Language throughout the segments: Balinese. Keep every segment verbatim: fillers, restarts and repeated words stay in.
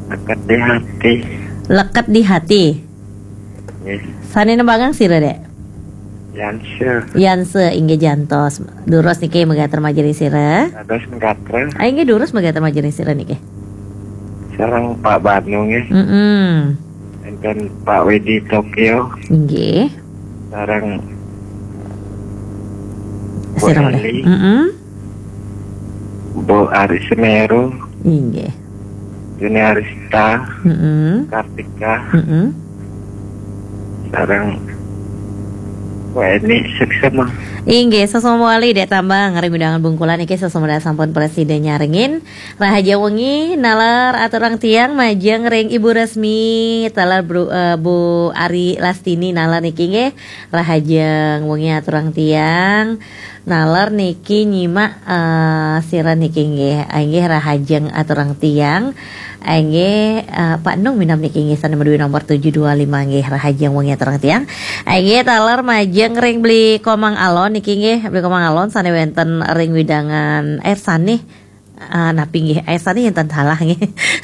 Leket di hati. Leket di hati. Nggih. Sané nembangang sira, Dék? Yanse. Yanse, inggih jantos. Durus niki megater majeng ring sira. Dados megater. Ah, inggih durus megater majeng ring sira niki. Sareng Pak Banu nggih. Mm-mm. Enten Pak Widi Tokyo. Inggih. Sareng Bu Sira malih. Eli. Mm-mm. Bu Ari Semeru. Inggih. Yuni Arista. Mm-mm. Kartika. Mm-mm. Sareng Bu Eni Suksema. Inggih, sasama malih Dék Tambang ring wewidangan Bungkulan niki sasama sampun prasida nyarengin. Rahajeng wengi, naler aturang tiang majeng ring Ibu Resmi, taler Bru, eh, Bu Ari Lastini naler niki nggih. Rahajeng wengi aturang tiang. Naler niki nyimak eh, sira niki nggih. Inggih rahajeng aturang tiang. Inggih eh, Pak Nung minab niki nggih sané madué nomor tujuh dua lima nggih rahajeng wengi aturang tiang. Inggih taler majeng ring Beli Komang Alon niki nggih. Beli Komang Alon sané wénten ring wewidangan eh sané eh, napi nggih eh sané yén ten salah nggih.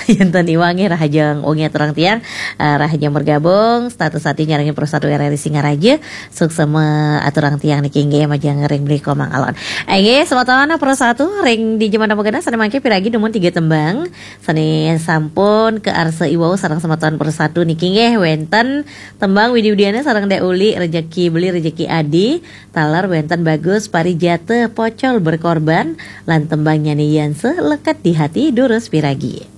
Yén ten iwang nggih rahajeng wengi aturang tiang. Eh, rahajeng bergabung status ati nyarengin Pro satu R R I Singaraja. Suksema aturang tiang niki nggih majeng ring Beli Komang Alon. Inggih semeton Pro satu ring di jaman pagena sané mangkin piragi dumun tiga tembang sané sampun kaarsa iwau sareng semeton Pro satu niki nggih wénten tembang Widi Widiana sareng Dék Uli, Rejeki Beli Rejeki Adi, taler wénten Bagus Parijata Pocol Berkorban lan tembang Nyanyi Yanse Leket di Hati durus piragi.